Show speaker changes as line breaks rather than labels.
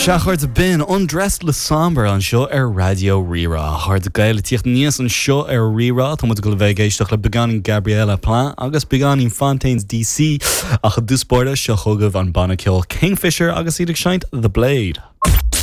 Sea, a chairde, b'in Undressed le Sombre anseo ar Raidió Rí-Rá. A chairde Gael, ag tíocht aníos anseo ar Rí-Rá, tá muid ag dul a bheith ag éisteacht le beagáinín Gabriella Plein agus beagáinín Fontaines DC. Ach i dtús báire, seo chugaibh an banna ceoil Kingfisher agus iad ag seinnt The Blade.